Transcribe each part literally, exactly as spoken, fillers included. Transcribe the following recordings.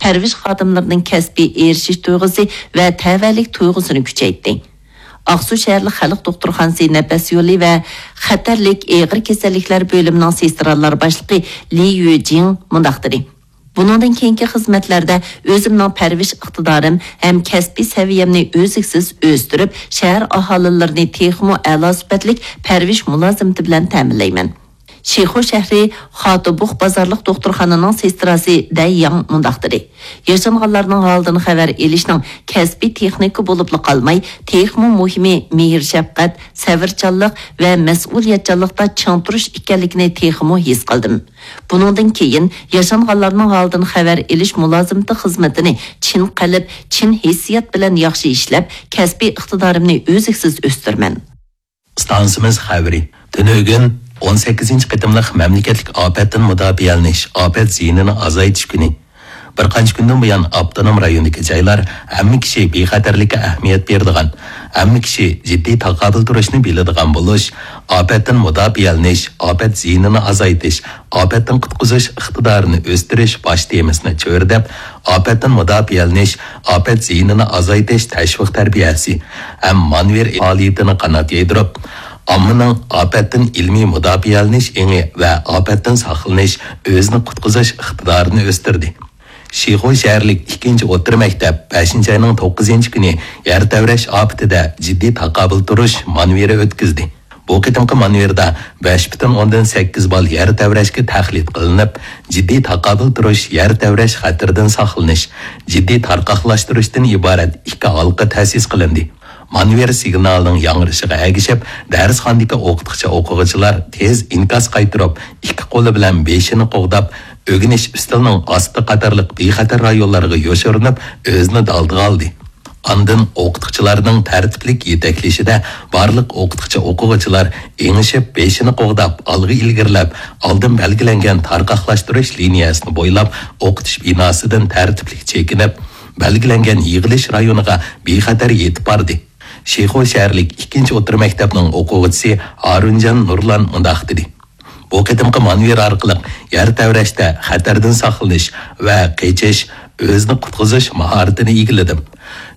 پەرۋىش خادىملىرىنىڭ كەسپىي ئېرىشىش تۇيغۇسى ۋە تەۋەلىك تۇيغۇسىنى كۈچەيتتى. ئاقسۇ شەھەرلىك خەلق دوختۇرخانىسى نەپەس يولى ۋە خەتەرلىك ئېغىر كېسەللىكلەر بۆلۈمىنىڭ سېسترالار باشلىقى لى يۈجىڭ مۇنداق دېدى: بۇنىڭدىن كېيىنكى خىزمەتلەردە ئۆزۈمنىڭ پەرۋىش ئىقتىدارىم ھەم كەسپىي سەۋىيەمنى ئۈزلۈكسىز ئۆستۈرۈپ، شەھەر ئاھالىلىرىنى تېخىمۇ ئەلا سۈپەتلىك پەرۋىش مۇلازىمىتى بىلەن تەمىنلەيمەن. شىخۇ شەھىرى خاتۇبۇخ بازارلىق دوختۇرخانىنىڭ سېستراسى دەي ياڭ مۇنداق دېدى: ياشانغانلارنىڭ ھالىدىن خەۋەر ئېلىشنىڭ كەسپىي تېخنىكا بولۇپلا قالماي، تېخىمۇ مۇھىمى مېھىر-شەپقەت، سەۋرچانلىق ۋە مەسئۇلىيەتچانلىقتا چىڭ تۇرۇش ئىكەنلىكىنى تېخىمۇ ھېس قىلدىم. بۇنىڭدىن كېيىن ياشانغانلارنىڭ ھالىدىن خەۋەر ئېلىش مۇلازىمىتى خىزمىتىنى چىن قەلب، چىن ھېسسىيات بىلەن ياخشى ئىشلەپ، كەسپىي ئىقتىدارىمنى ئۈزلۈكسىز ئۆستۈرىمەن. ئىستانسىمىز خەۋىرى. تۈنۈگۈن ئون سەككىزىنچى قېتىملىق مەملىكەتلىك ئاپەتتىن مۇداپىئەلىنىش، ئاپەت زىيىنىنى ئازايتىش كۈنى. بىر قانچە كۈندىن بۇيان، ئاپتونوم رايوندىكى جايلار ھەممە كىشى بىخەتەرلىككە ئەھمىيەت بېرىدىغان، ھەممە كىشى جىددىي تاقابىل تۇرۇشنى بىلىدىغان بولۇش، ئاپەتتىن مۇداپىئەلىنىش، ئاپەت زىيىنىنى ئازايتىش، ئاپەتتىن قۇتقۇزۇش ئىقتىدارىنى ئۆستۈرۈش باش تېمىسىنى چۆرىدەپ، ئاپەتتىن مۇداپىئەلىنىش، ئاپەت زىيىنىنى ئازايتىش تەشۋىق تەربىيەسى ھەم مانۋېر پائالىيىتىنى قانات يايدۇرۇپ، ئاممىنىڭ ئاپەتتىن ئىلمىي مۇداپىئەلىنىش ئېڭى ۋە ئاپەتتىن ساقلىنىش، ئۆزىنى قۇتقۇزۇش ئىقتىدارىنى ئۆستۈردى. شىخۇ شەھەرلىك ئىككىنچى ئوتتۇرا مەكتەپ بەشىنچى ئاينىڭ توققۇزىنچى كۈنى يەر تەۋرەش ئاپىتىدە جىددىي تاقابىل تۇرۇش مانېۋىرى ئۆتكۈزدى. بۇ قېتىمقى مانېۋىردا بەش پۈتۈن ئوندىن سەككىز بال يەر تەۋرەشكە تەقلىد قىلىنىپ، جىددىي تاقابىل تۇرۇش، يەر تەۋرەش خەتىرىدىن ساقلىنىش، جىددىي تارقاقلاشتۇرۇشتىن ئىبارەت ئىككى ھالقا تەسىس قىلىندى. مانېۋىر سىگنالىنىڭ ياڭرىشىغا ئەگىشىپ، دەرسخانىدىكى ئوقۇتقۇچى ئوقۇغۇچىلار تېز ئىنكاس قايتۇرۇپ، ئىككى قولى بىلەن بېشىنى قوغداپ، ئۆگىنىش ئۈستىلىنىڭ ئاستى قاتارلىق بىخەتەر رايونلارغا يوشۇرۇنۇپ، ئۆزىنى دالدىغا ئالدى. ئاندىن ئوقۇتقۇچىلارنىڭ تەرتىپلىك يېتەكلىشىدە بارلىق ئوقۇتقۇچى ئوقۇغۇچىلار ئېڭىشىپ، بېشىنى قوغداپ، ئالغا ئىلگىرىلەپ، ئالدىن بەلگىلەنگەن تارقاقلاشتۇرۇش لىنىيەسىنى بويلاپ، ئوقۇتۇش بىناسىدىن تەرتىپلىك چېكىنىپ، بەلگىلەنگەن يىغىلىش رايونىغا بىخەتەر يېتىپ باردى. شىخۇ شەھەرلىك ئىككىنچى ئوتتۇرا مەكتەپنىڭ ئوقۇغۇچىسى ھارۇنجان نۇرلان مۇنداق دېدى: بۇ قېتىمقى مانېۋىر ئارقىلىق يەر تەۋرەشتە خەتەردىن ساقلىنىش ۋە قېچىش، ئۆزىنى قۇتقۇزۇش ماھارىتىنى ئىگىلىدىم.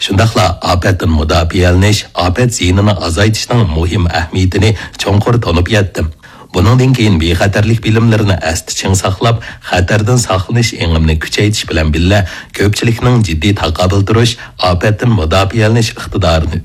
شۇنداقلا ئاپەتتىن مۇداپىئەلىنىش، ئاپەت زىيىنىنى ئازايتىشنىڭ مۇھىم ئەھمىيىتىنى چوڭقۇر تونۇپ يەتتىم. بۇنىڭدىن كېيىن بىخەتەرلىك بىلىملىرىنى ئەستە چىڭ ساقلاپ، خەتەردىن ساقلىنىش ئېڭىمنى كۈچەيتىش بىلەن بىللە، كۆپچىلىكنىڭ جىددىي تاقابىل تۇرۇش، ئاپەتتىن مۇداپىئەلىنىش ئىقتىدارىنى